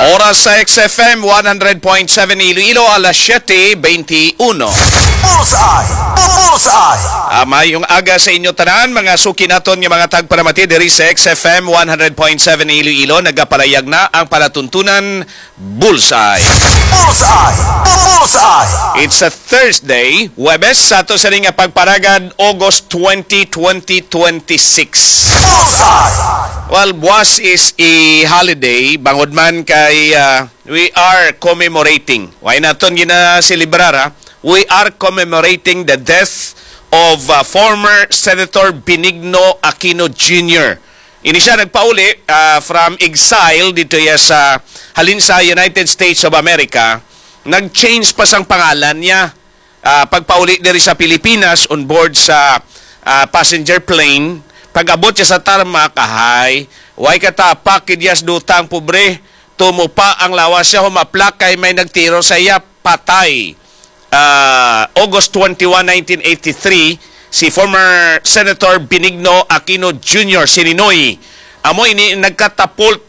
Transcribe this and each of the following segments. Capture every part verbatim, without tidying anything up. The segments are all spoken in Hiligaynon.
Oras sa X F M one hundred point seven Iloilo, alas siyete twenty-one. Bullseye! Bullseye! Ah, mayong aga sa inyo tanan, mga suki naton nga mga tagparamati diri sa X F M one hundred point seven Iloilo. Nagapalayag na ang palatuntunan Bullseye. Bullseye! Bullseye! It's a Thursday, Huwebes, sa ato sa nga pagparagad, August twenty, twenty twenty-six. Bullseye! Well, buwas is a holiday, bangod man kay, ah, we are commemorating. Why naton ginaselebrar, ha? We are commemorating the death of, ah, former Senator Benigno Aquino Junior. Ini siya nagpauli, ah, from exile dito ya sa, halin sa United States of America. Nag-change pa sang pangalan niya. Ah, pagpauli diri sa Pilipinas, on board sa, ah, passenger plane, pag-abot siya sa tarmac, ahay, way katapak, kidyas duta ang pobre, tumupa ang lawas siya, humaplak kay may nagtiro sa iya, patay. Ah, August twenty-one, nineteen eighty-three, si former Senator Benigno Aquino Junior, si Ninoy. Amo ini nagkatapult,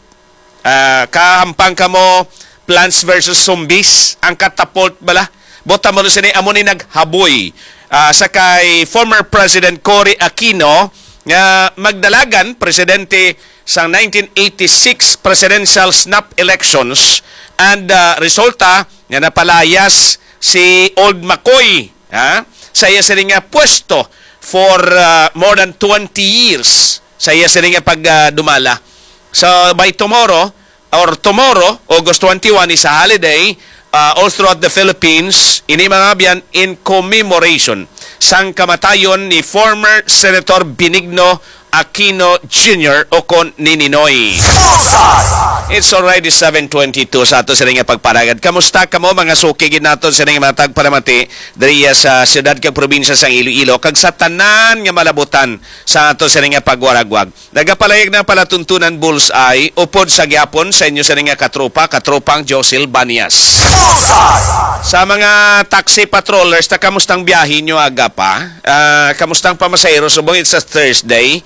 ah, kahampang kamo Plants versus Zombies, ang catapult bala. Bota mo sini, amo ni naghaboy, ah, sa kay former President Cory Aquino nga magdalagan presidente sang nineteen eighty-six presidential snap elections, and, ah, resulta nga napalayas si Old McCoy, ha, sa iya sini nga pwesto for, ah, more than twenty years sa iya sini nga pagdumala. So, by tomorrow, or tomorrow, August twenty-one, is a holiday, ah, all throughout the Philippines, ini mga abyan, in commemoration sang kamatayon ni former Senator Benigno Aquino Junior, o kon ni Ninoy. Bullseye! It's already seven twenty-two sa ato sini nga pagparagad. Kamusta kamo, mga suki gid naton sini nga mga tagparamati diri sa siyudad kag probinsya sang Iloilo, kag sa tanan nga malabutan sa ato sini nga pagwaragwag? Nagapalayag na palatuntunan Bullseye, upod sa gyapon sa inyo sini nga katropa, katropang Josel Banias. Bullseye! Sa mga taxi patrollers, ta, kamustang biyahe nyo aga pa? Ah, kamustang pamasahero? Subong it's a Thursday.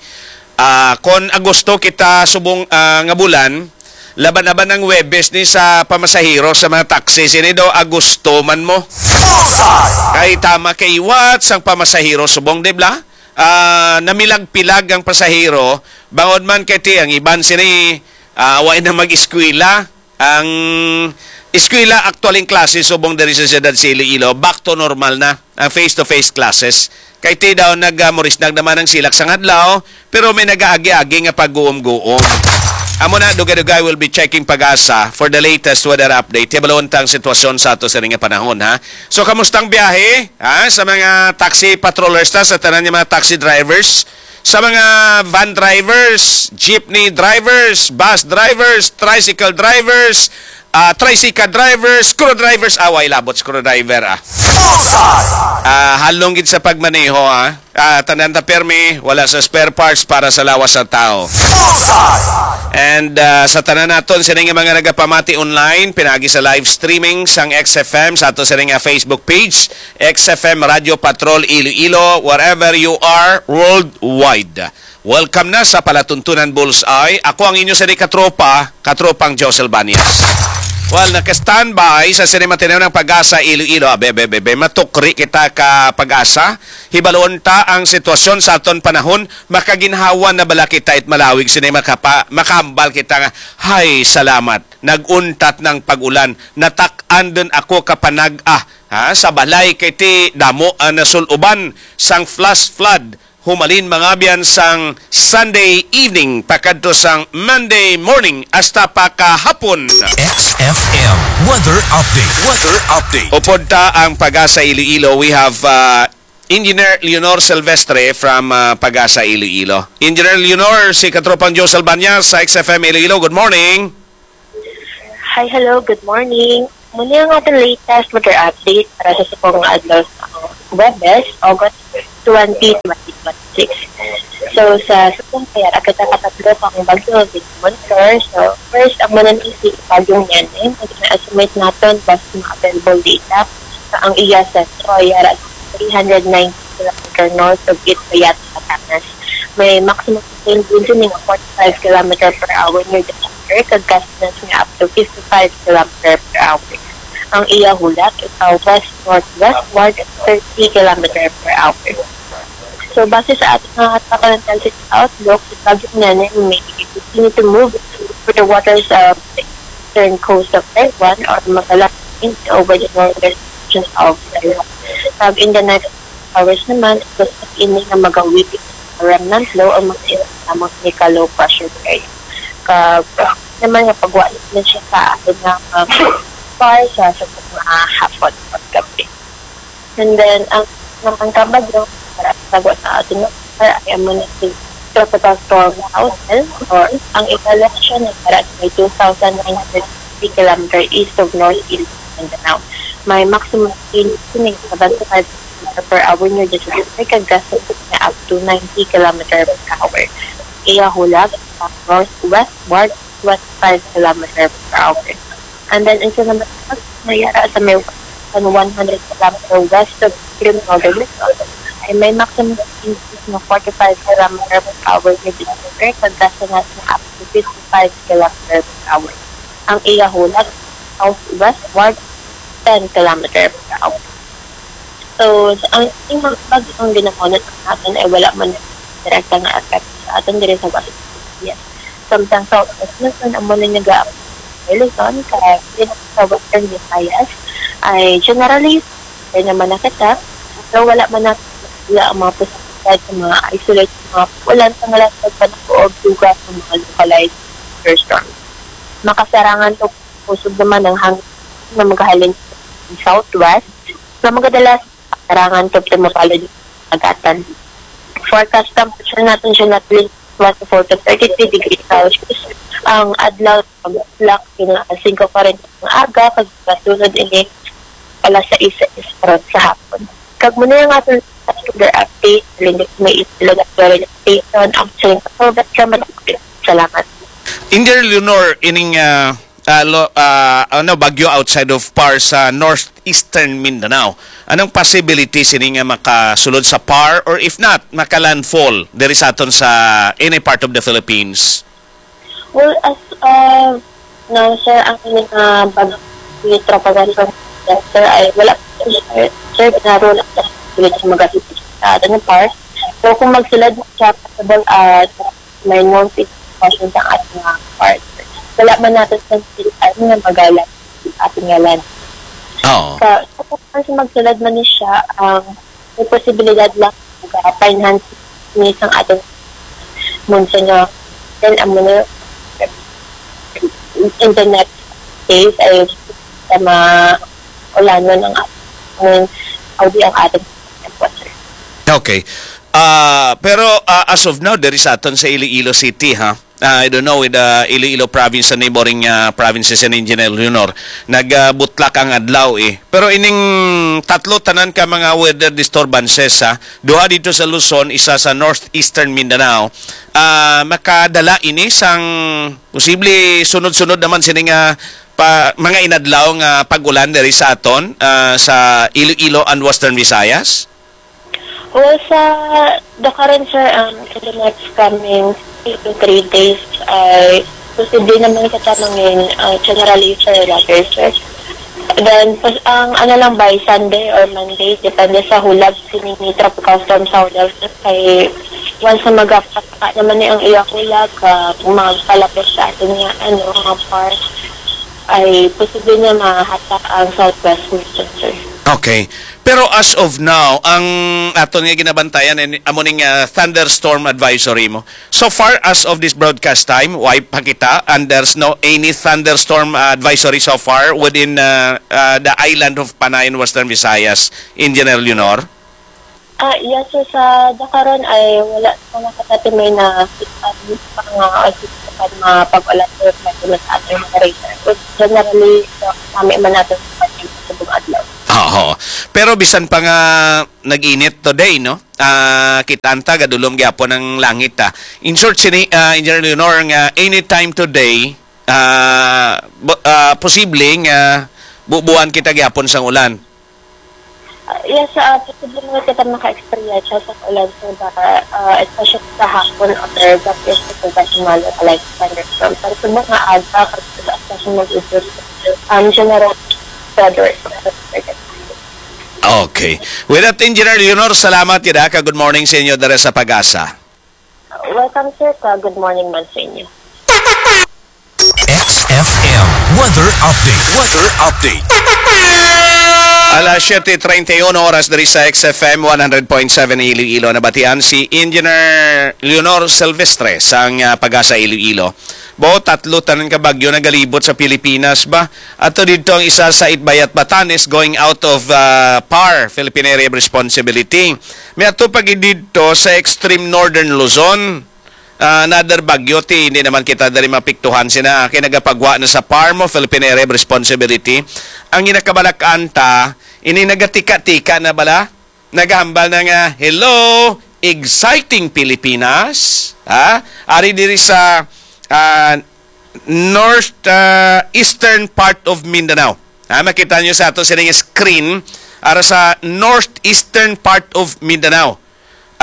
Ah, kon Agosto kita subong, ah, nga bulan, laban-laban ang Huwebes ni sa pamasahero sa mga taxi. Sini daw Agosto man mo. Bullseye! Kay tama kay what sang pamasahero subong, di ba? Ah, namilag-pilag ang pasahero, bangod man kay ti ang iban sini, ah, wa na mag-eskwela. Ang eskwela, actually, ang klase subong diri sa siyudad sa Iloilo, back to normal na ang face-to-face classes. Kay ti daw nag, ah, murisnag naman ang silak sang adlaw, pero may nagaagi-agi nga pagguom-guom. Amo na, dugay-dugay will be checking PAGASA for the latest weather update. Hibalon ta ang sitwasyon sa ato sa nga panahon, ha? So, kamustang biyahe, ha? Sa mga taxi patrollers ta, sa tanan nga mga taxi drivers, sa mga van drivers, jeepney drivers, bus drivers, tricycle drivers, ah, tricycle drivers, screwdrivers, away labot screwdriver, ah. Bullseye! Ah, halong gid sa pagmaneho, ah. Ah, tanan ta permi, wala sa spare parts para sa lawas sa tao. Bullseye! And, ah, sa tanan naton, sini nga mga nagapamati online, pinagi sa live streaming sang X F M, sa ato sini nga Facebook page, X F M Radio Patrol Iloilo, wherever you are, worldwide. Welcome na sa Palatuntunan Bullseye. Ako ang inyo sini katropa, katropang Josel Banias. Well, naka-standby sa sini matinaw ng PAGASA Iloilo. Abe, abe, abe, abe, matukri kita ka PAGASA. Hibalon ta ang sitwasyon sa aton panahon. Makaginhawa na bala kita it malawig sini makapa-, makahambal kita nga, "Hay, salamat. Nag-untat ng pag-ulan. Natak-an din ako kapanag-a, ha, sa balay kay ti damo ang nasul-uban sang flash flood." Humalin, mga abyan, sang Sunday evening pakadto sang Monday morning hasta pa kahapon. X F M weather update. Weather update. Upod ta ang PAGASA Iloilo, we have, uh, Engineer Leonor Silvestre from, uh, PAGASA Iloilo. Engineer Leonor, si Katropang Joe Salbañas sa X F M Iloilo. Good morning. Hi, hello, good morning. Muna ang ating latest weather update para sa subong nga adlaw sa Huwebes, August twenty, twenty twenty-six. So, sa subong kaya, agad nakatatlo pa ang bagyo, Victor. So, first, ang mananisi, bagyong Nene, na estimate naton, basta mga available data, sa ang iya sentro, yara three hundred ninety kilometer north of Itbayat, Batanes. May maximum wind region nga forty-five kilometer per hour near the December, kag gustiness nga up to fifty-five kilometer per hour. Ang iya hulag is sa west-northwestward, thirty kilometer per hour. So, base sa ating mga tropical cyclone outlook, si Bagyong Nene may continue to move through the waters of the eastern coast of Taiwan or magalang over the northern region of Taiwan. Pag in the next hours naman, gusto ini nga magawid sa remnant low o magsiinit lamang ini ka low pressure area. Kag naman nga pagwa na siya sa atin nga mga par sa, sa mga hapon at gabi. And then, ang naman kabagyo, para sa gwa sa atin nga par ay amo na si Tropical Storm Hazel, or ang ikalasyon na para sa two thousand nine hundred fifty kilometer east of North Iloilo, Mindanao. May maximum speed sining seventy-five kilometer per hour near the Sudeste, kag gusting niya up to ninety kilometer per hour. Iya hulag sa northwestward, twenty-five kilometer per hour. And then, isa naman ang mayara sa may one hundred kilometer west of Criminal Luzon ay may maximum speed ng forty-five kilometer per hour near the Sudeste, kag gusting niya up to fifty-five kilometer per hour. Ang iya hulag, southwestward, ten kilometer per hour. So, sa, ang, ang mga bagyong ginamunot natin ay wala man direkta nga epekto sa atin diri sa West Philippines. Samtang sa West Luzon, amo na nga sa Luzon, kag diri sa Western Visayas, ay generally, okay naman na kita, pero wala man na, wala ang mga posibilidad sa mga isolated mga ulan sa ngalan sa panaog duga sa mga localized thunderstorms. Makasarangan to kusog naman ang hangin na magahalin sa southwest na magadalas karangan kag tumapalod ang agatan. Forecast temperature natin siya natin twenty-four to thirty-three degrees Celsius. Ang adlaw mag-black nga singko forty nga aga, kag masunod ini alas sais sa oras sa hapon. Kag muna yung ating weather update, Linux may isilog at weather station, ang siling kasobat sa Madrid. Salamat. Engineer Leonor, ining ah, ah, lo, ah, ano, bagyo outside of par sa northeastern Mindanao. Anong possibility sini nga makasulod sa par, or if not, makalandfall diri sa aton sa any part of the Philippines? Well, as uh, now, sir, ang mga bagyo ni Tropical Storm, sir, ay wala pa, sir, sir, ginaro na sa mga sa atin ng par. So, kung magsulod siya, possible, uh, may northeast portion sa ating mga part. Wala man natin sa state, ano nga magalang sa ating nga land. Oo. Sa, sa pagkakasi magsulod man ni siya, ang may posibilidad lang mag-finance ni sang ating monsoon nga then amo na in the next days ay sa mga ulanon ang ating, I mean, audi ang ating temperature. Okay. Ah, pero, ah, as of now, diri sa aton sa Iloilo City, ha? Ah, I don't know with, ah, Iloilo province and neighboring, ah, provinces and Engineer Leonor. Nagbutlak ang adlaw, eh. Pero ining tatlo tanan ka mga weather disturbances, ha? Duha dito sa Luzon, isa sa northeastern Mindanao. Ah, makadala ini sang posible sunod-sunod naman sini nga pa, mga inadlaw nga pag-ulan diri sa aton, ah, sa Iloilo and Western Visayas? Well, sa the current, sir, um, in the next coming two to three days, ay posible naman kita mangin, uh, generally, sir, later, sir. Then, pas, ang ano lang, by Sunday or Monday, depende sa hulag sini ni Tropical Storm Saudal, sir, kay once na magapasaka naman ni ang iya hulag, uh, magpalapit sa atin nga, ano, mga part, ay posible niya mahatak ang southwest Luzon, sir. Okay. Pero as of now, ang aton nga ginabantayan, eh, amo ning, ah, thunderstorm advisory mo. So far as of this broadcast time, why pa kita, and there's no any thunderstorm, ah, advisory so far within, ah, ah, the island of Panay in Western Visayas, Engineer Leonor? Ah, yes, sir. Sa dakaron ay wala pa nga katatimay na kita pa nga, ah, kita pa nga pag-ulan sa sa ating mga radar. But generally, so, kami man natin sa ating subong adlaw. Oo. Pero bisan pa nga nag-init today, no? Ah, kita ta gadulom gyapon ang langit, ah. In short, sini, ah, Engineer Leonor, nga anytime today, ah, bu-, ah, posible nga bubuan kita gyapon sang ulan. Ah, yes, ah, posible nga kita maka-experience sa ulan, sir, ba, ah, especially sa hapon or that is the Guatemala, like thunderstorm. Pero sa mga aga, kasi especially mag-ibig, um, general weather. Okay. With that, Engineer Leonor, salamat gid, ha, ka good morning sa inyo dere sa Pag-asa. Welcome, sir, ka good morning man sa inyo. X F M weather update. Weather update. Alas siyete treinta y uno oras diri sa X F M one hundred point seven Iloilo. Nabatian si Engineer Leonor Silvestre sang ah, Pag-asa Iloilo. Bo, tatlo tanan ka bagyo nagalibot sa Pilipinas ba? Ato dito ang isa sa Itbayat, Batanes, going out of ah, PAR, Philippine Area of Responsibility. May ato pa gid dito sa extreme northern Luzon. Ah, another bagyo, ti hindi naman kita diri mapiktuhan sina kay nagapagwa na sa PAR mo, Philippine Area of Responsibility. Ang ginakabalak-an ta, ini nagatika-tika na bala, nagahambal na nga, "Hello, exciting Pilipinas." Ha? Ari diri sa ah, north ah, eastern part of Mindanao. Ha, makita nyo sa ato sining screen, ara sa northeastern part of Mindanao.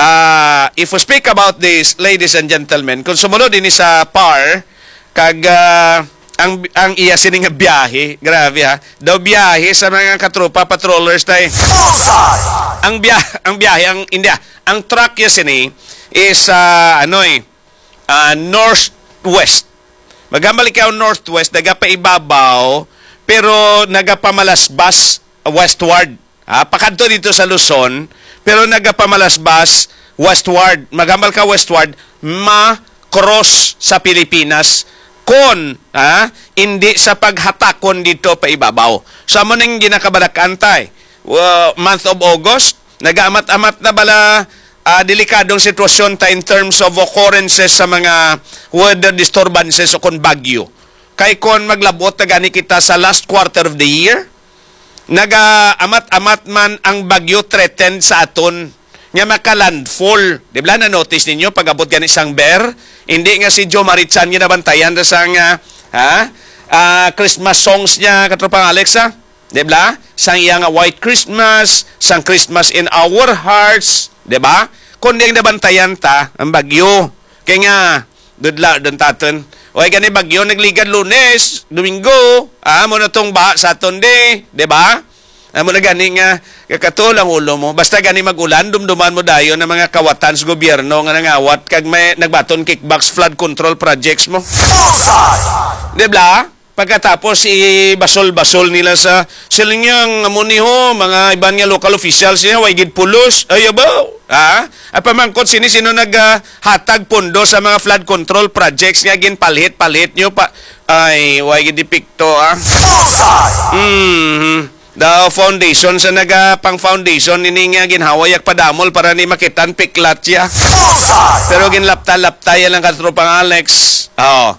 Ah, if we speak about this, ladies and gentlemen, kung sumulod ini sa PAR, kag ah, ang ang iya sini nga biyahe, grabe ha, daw biyahe sa mga katropa patrollers tay. Ang biya ang biyahe ang India, ang track ya sini is ah, ano eh, ah, northwest. Maghambal ikaw northwest, nagapaibabaw, pero nagapamalasbas westward. Ah, pakadto dito sa Luzon, pero nagapamalasbas westward. Maghambal ka westward, ma-cross sa Pilipinas kon ah, hindi sa paghatakon dito pa ibabaw. So, amo ning ginakabalak-an tay. Wa- month of August, nagaamat-amat na bala ah, delikadong sitwasyon ta in terms of occurrences sa mga weather disturbances o kon bagyo. Kay kon maglabot na gani kita sa last quarter of the year, nagaamat-amat man ang bagyo threatened sa aton nga maka-landfall. Di ba, na-notice ninyo pag-abot gani sang Ber? Hindi nga si Joe Marichan ginabantayan na sang ah, ha? Ah, Christmas songs niya, katropang Alex, ha? Di ba? Sang iya nga White Christmas, sang Christmas in Our Hearts, di ba? Kundi ang nabantayan ta, ang bagyo. Kay nga, dudla, dun taton. O ay gani bagyo, nagligad Lunes, Domingo, ah, mo na tong ba sa aton di, di ba? Amo na gani nga, kakatol ang ulo mo. Basta gani mag-ulan, dumduman mo dayon ang mga kawatan sa gobyerno nga nangawat kag may nagbaton kickbacks flood control projects mo. Di ba? Pagkatapos, ibasol-basol nila sa siling niyang amo ni ho, mga iban nga local officials niya, way gid pulos. Ay, abaw. Ha? Ay, pamangkot sini, sino naghatag pondo sa mga flood control projects nga ginpalhit-palhit niyo pa? Ay, way gid epekto, ah. Mm-hmm. The foundation sa naga pang foundation ini nga ginhaway yak padamol para ni makitan piklat siya. Pero ginlapta-lapta ya lang katropang Alex. Oh.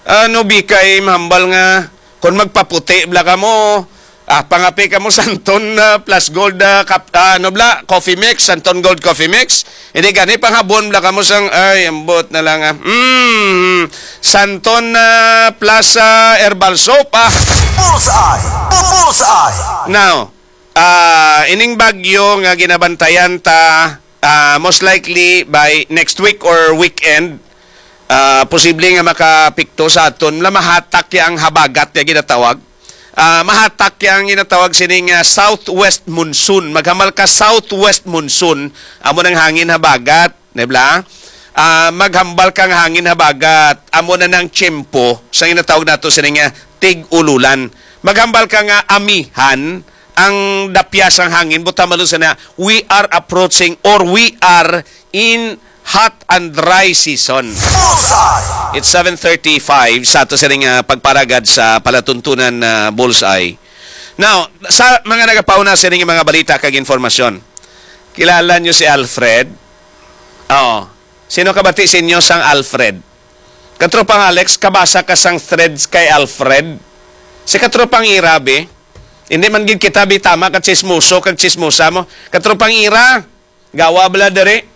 Ano bikay mahambal nga kung magpaputi bla kamo, ah, pangapi kamo Santon ah, plus gold ah, kap, ah, ano bla, coffee mix, Santon Gold Coffee Mix. Hindi gani panghabon bla kamo sang ay ambot na lang ah. Mm, Santon ah, plus ah, herbal soap ah. Bullseye! Bullseye! Now, ah, ining bagyo nga ginabantayan ta ah, most likely by next week or weekend, ah, posible nga makapikto sa aton na mahatak ya ang habagat nga ginatawag. Ah, mahatak ya ang ginatawag sining ah, southwest monsoon. Maghambal ka southwest monsoon, amo nang hangin habagat, di ba? Ah, maghambal kang hangin habagat, amo na nang tiyempo sa ginatawag nato sining ah, tig-ululan. Maghambal ka nga amihan ang dapya sang hangin, buta malo sana, we are approaching or we are in hot and dry season. It's seven thirty-five sa ato sining ah, pagparagad sa palatuntunan na Bullseye. Now, sa mga nagapauna sining mga balita kag informasyon, kilala nyo si Alfred? Oo. Sino kabati sa inyo sang Alfred? Katropang Alex, kabasa ka sang threads kay Alfred? Si Katropang Ira, be? Hindi man gid kita, be, tama ka chismoso kag chismosa mo. Katropang Ira, gawa bala diri?